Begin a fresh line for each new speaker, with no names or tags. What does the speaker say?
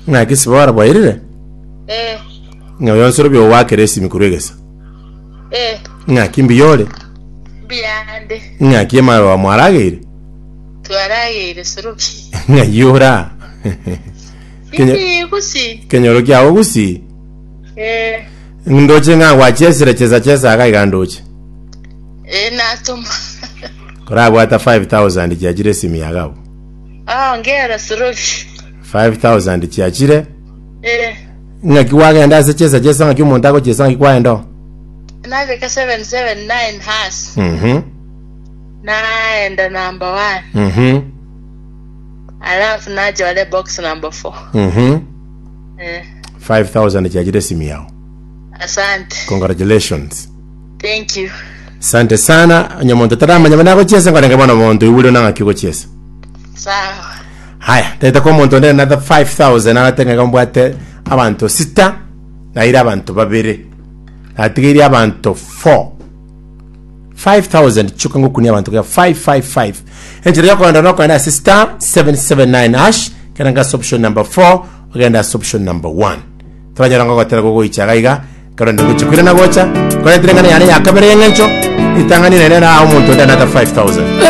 Ng'aki Sibora bwairire?
Eh,
Ng'a oyo nsoro biogwakera esimi korwa egesa.
eh,
Ng'aki mbuya ore?
mbuyande.
Ng'aki emaroba mwarageire?
Twarageire sorobi.
Ng'ai ora? Kenyo-
Ii, gusi.
Kenyoro kiago gusii?
Eh,
Ndoche ng'a gwachesire chesa chesa iga iga ndoche.
eh, natoma.
Korabwata 5000 chiachire esimi yago abwo.
Ah, ongera sorobi.
5000 chiachire.
Eh,
Ng'aki gwagenda ase chesa chesa ng'aki omonto agochesa ng'aki kwaenda oo.
nabeka 779 has.
Mhm.
Naenda number one.
Mhm.
Alafu nachore box number four.
Mhm.
Eh,
5000 chiachire esimi yao.
asante.
Congratulations.
Thank you.
Asante sana. Onye omonto taramanya buna agochiesa nkorenge bono omonto oigure na ng'aki ogochiesa.
Sawa.
Haya, tete ko omonto onde another 5000 agate ng'a mbwate abanto sita naire abanto babere. Natigeirie abanto 4. 5000 chuka ngokunia abanto ga 555. Enchera yokoenda nokoenda ase star 779 hash kera ngase option number 4 ogenda ase option number 1. Toranyora ngogotera gogoicha iga iga ekero nde gochia koirana gocha korentire eng'ana yane ya kabere y'eng'encho ritang'ani nere na omonto onde another 5000.